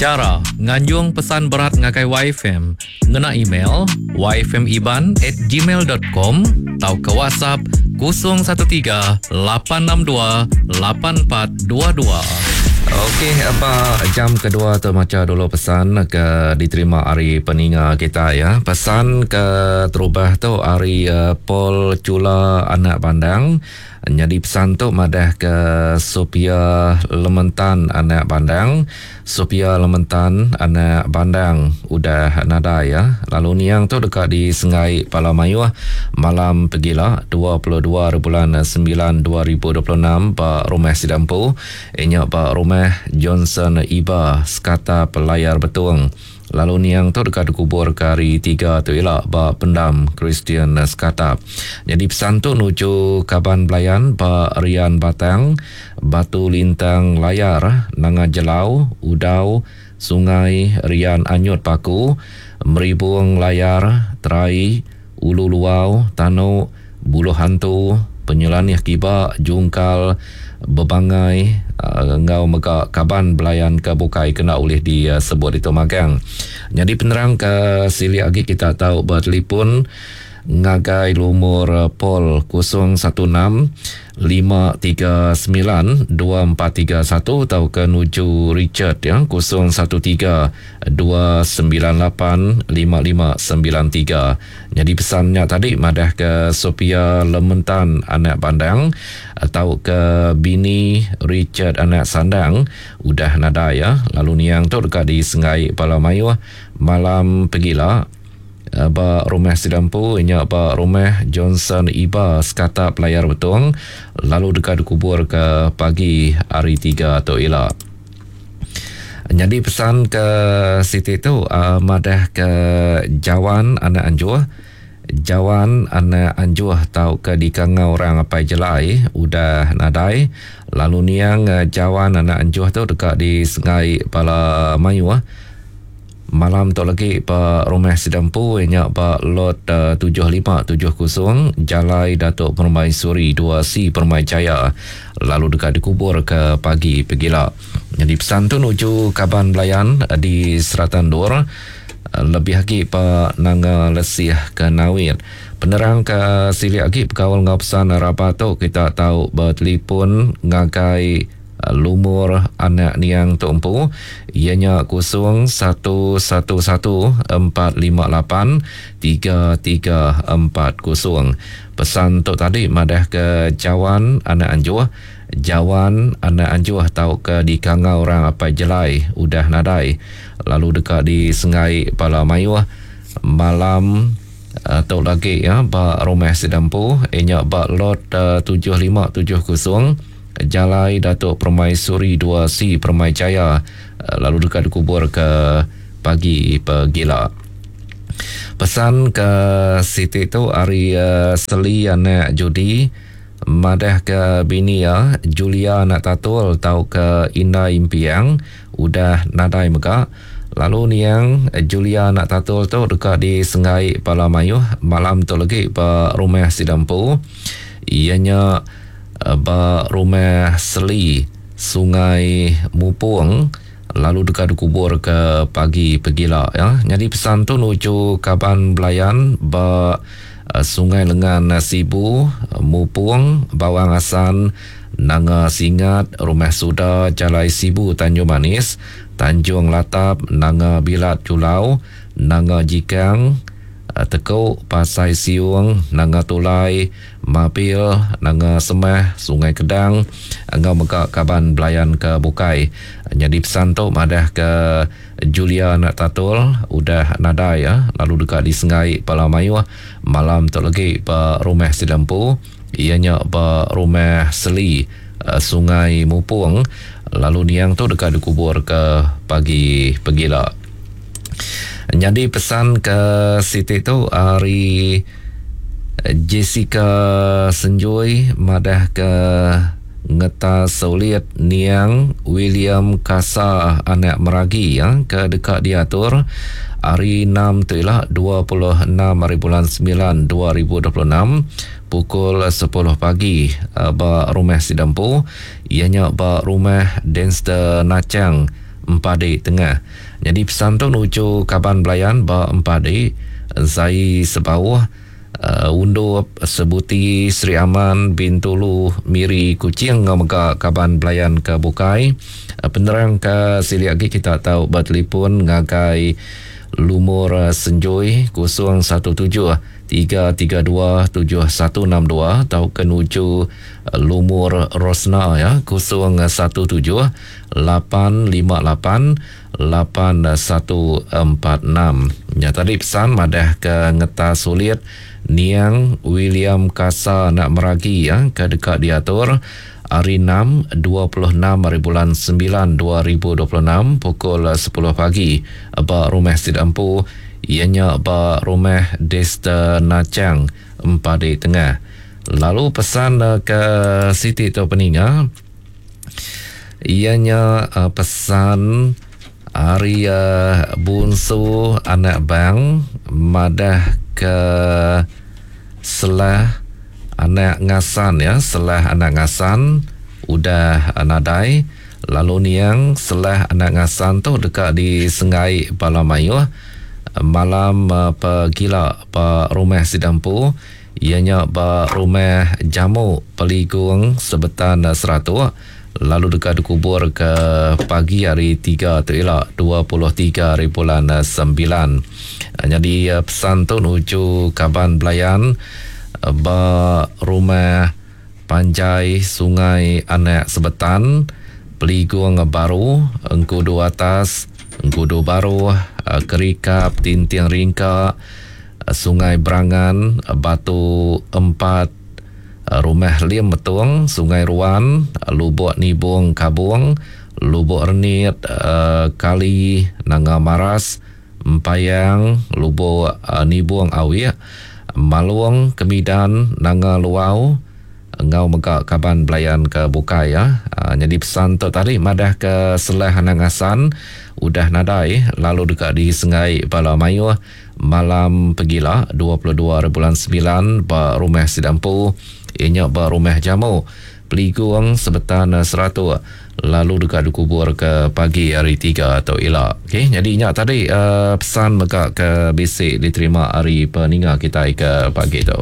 Chara nganjung pesan berat ngagai YFM ngena email yfmiban at gmail dot com tauka WhatsApp 013 862 8422. Okey, ba jam kedua tu macha dulu pesan ke diterima ari peninga kita ya. Pesan ke terubah tu ari eh, Paul Chula Anak Bandang. Nyadi pesan tu madah ke Sophia Lementan anak Bandang. Sophia Lementan anak Bandang udah nadai ya. Lalu niang tu deka disenggai pala mayuh malam pegila 22 haribulan 9 2026 ba rumah sida empu inya ba rumah Johnson Iba Sekatap Layar Betong. Lalu niang tu deka dikuburka hari Tiga tu ila ba Pendam Kristian Sekatap. Nyadi pesan tu nuju kaban belayan ba Rian Batang, Batu Lintang Layar, Nanga Jelau, Udau, Sungai Rian Anyut Paku, Meribung Layar, Terai, Ulu Luau, Tanu, Buluh Antu, Penyelanih Kiba, Jungkal, Bebangai enggau mega kaban belayan ke bukai ke enda ulih disebut ditu magang. Nyadi penerang ke silik agi kita tau betelipon ngagai lumur Paul 016 539 2431 tauka nuju Richard ya 013 298 5593. Nyadi pesan nya tadi madahka Sophia Lementan anak Bandang tauka bini Richard anak Sandang udah nadai iya lalu niang tu deka disenggai bala mayuh malam pegila ba rumah sida empu nya ba Rumah Johnson Iba Sekatap Layar Betong lalu deka dikuburka pagi hari Tiga tu ila. Nyadi pesan ke siti tu madah ke Jawan anak Anjuh. Jawan anak Anjuh tauka dikangau orang Apai Jelai udah nadai lalu niang Jawan anak Anjuh tu deka disengai bala mayuh. Malam tu lagi ba rumah sida empu iya nya ba Lot 7570 Jalai Datuk Permaisuri 2C Permai Jaya lalu deka dikuburka pagi pegila. Nyadi pesan tu nuju kaban belayan di serata endur lebih agi ba Nanga Lesih ke Nawit. Penerang ke silik agi bekaul enggau pesan rabat tu kita tau betelipon ngagai Lumur anak niang tu empu iya nya 0111 458 3340. Pesan tu tadi madahka Jawan anak Anjuh, Jawan anak Anjuh tauka dikangau orang Apai Jelai udah nadai lalu deka disenggai bala mayuh malam tu lagi iya ba rumah sida empu iya nya ba lot 7570. Jalai Datuk Permaisuri 2C Permai Jaya lalu deka dikuburka pagi pegila. Pesan ke siti tu ari Seli anak Judi madahka bini iya Julia anak Tatul tauka Indai Impiang udah nadai mega lalu niang Julia anak Tatul tu deka disenggai bala mayuh malam tu legi ba rumah sida empu iya nya Ba Rumah Seli, Sungai Mupong lalu deka dikuburka pagi pegila ya. Nyadi pesan tu nuju kaban belayan ba Sungai Lengan Sibu, Mupong, Bawang Asan, Nanga Singat, Rumah Suda, Jalai Sibu Tanjung Manis, Tanjung Latap, Nanga Bilat Julau, Nanga Jikang, Teku, Pasai Siung, Nanga Tulai, Mapil, Nanga Semah, Sungai Kedang enggau mega kaban belayan ke bukai. Nyadi pesan tu madahka Julia anak Tatul udah nadai lalu deka disenggai bala mayuh malam tu legi ba rumah sida empu iya nya ba Rumah Seli, Sungai Mupong lalu niang tu deka dikuburka pagi pegila. Nyadi pesan ke siti tu ari Jessica Senjui madahka ngetas ulit niang William Kasa anak Meragi ke deka diatur hari Enam tu ila 26 hari bulan 9 2026 pukul 10 pagi ba rumah sida empu iya nya ba Rumah Denster Nachang. Empadi Tengah. Nyadi pesan tu nuju kaban belayan ba Empadi, Zai Sebauh, Undup, Sebuti, Sri Aman, Bintulu, Miri, Kuching enggau mega kaban belayan ke bukai. Penerang ke silik agi kita tau betelefon ngagai lumur senjui 017 332 7162 tauka nuju lumur Rosna ya 017 858 8146. Nya tadi pesan madah ke ngetas ulit niang William Kasa anak Meragi ya ke deka diatur hari 6 26 hari bulan 9 2026 pukul 10 pagi ba rumah sida empu iya nya ba rumah Dester Nachang Empadi Tengah. Lalu pesan ke siti tu peninga Iya nya pesan ari Bunsu anak Bang madah ke Selah anak Ngasan ya, Selah anak Ngasan udah nadai lalu niang Selah anak Ngasan tu deka disenggai bala mayuh malam pegila ba rumah sida empu iya nya ba Rumah Jamu Peligung Sebetan Seratok lalu deka dikubur ke pagi hari Tiga tu ila 23 hari bulan Sembilan. Nyadi pesan tu nuju kaban belayan ba Rumah Panjai Sungai Anak Sebetan Peligung Baru Engkudu Atas Engkudu Baruh Kerikap Tinting Ringka Sungai Berangan, Batu Empat, Rumah Lim Metong, Sungai Ruan, Lubok Nibong Kabong, Lubok Renit, Kali, Nanga Maras, Empayang, Lubok Nibong Awik, Malong, Kemidan, Nanga Luau, enggau mega kaban belayan ke bukai ya. Nyadi pesan tu tadi madah ke Selah Anang Asan udah nadai lalu deka disenggai bala mayuh malam pegila 22 hari bulan 9 ba rumah sida empu iya nya ba Rumah Jamu Peligung Sebetan Seratok lalu deka dikubur ke pagi hari 3 tu ila. Okey nyadi nya tadi uh, pesan mega ke bisi diterima ari peninga kitai ke pagi tu.